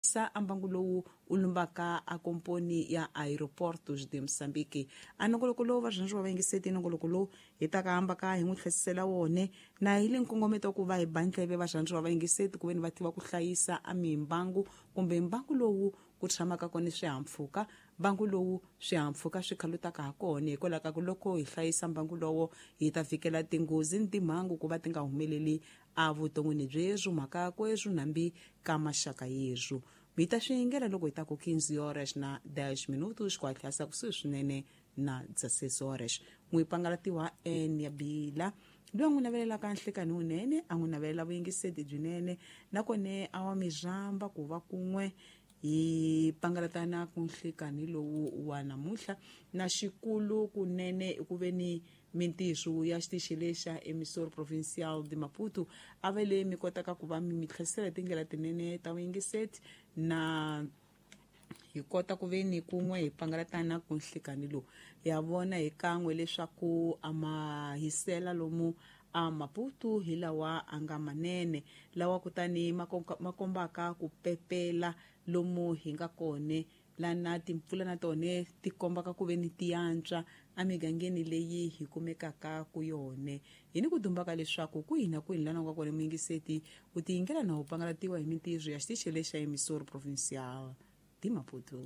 Sa a mbangu lowu u lumbaka a komponi ya Aeroportos de Moçambique. A nongoloko lowu va rhandzi va vayingiseti, nongoloko lowu hi ta ka hamba ka hi n'wi tlhesisela wone na hi le nkongometo wa ku va hi ba ndleve va rhandzi va vayingiseti ku veni va tiva ku hlayisa a mimbangu kumbe mbangu lowu ku tshamaka kona swihahampfhuka, mbangu lowu swihahampfhuka swi khalutaka ha kona, hikwalaho ka ku loko hi hlayisa mbangu lowo hi ta fikela tinghozi ni timhangu ku va ti nga humeleli evuton'wini byerhu, mhaka kweswo nambi ka maxaka yerhu. Mi ta swi yingela loko hi ta ku 15 horas na 10 minutos, ku hatlisa kusuhi swinene na 16 horas. N'wi pangalatiwa n ya bila loyi a n'wi navelelaka nhlikani wunene, a n'wi navelela vuyingiseti byinene, nakone a wa mi rhamba ku va kun'we hi pangalatana ku nhlikani lowu wa namuntlha. Na xikulu kunene i ku ve ni mintirho ya xitichi lexa Emissor Provincial de Maputo a va leyi mi kotaka ku va mi mi tlherisela hi tindlela tinene ta vuyingiseti, na hi kota ku ve ni kun'we hi pangalatana ku nhlikani lowu. Ya vona hi kan'we leswaku a ma hisela lomu a Maputo hi lawa a nga manene, lawa kutani ma kombaka ku pepela lomu hi nga kone, lana timpfula na tone ti kombaka ku ve ni ti antswa emigangeni leyi hi kumekaka ku yone. Hi ni ku dumbaka leswaku kwihi na kwihi lana u nga kona muyingiseti u tiyingela na u pangalatiwa hi mintirho ya xitichi lexa Emissor Provincial de Maputo.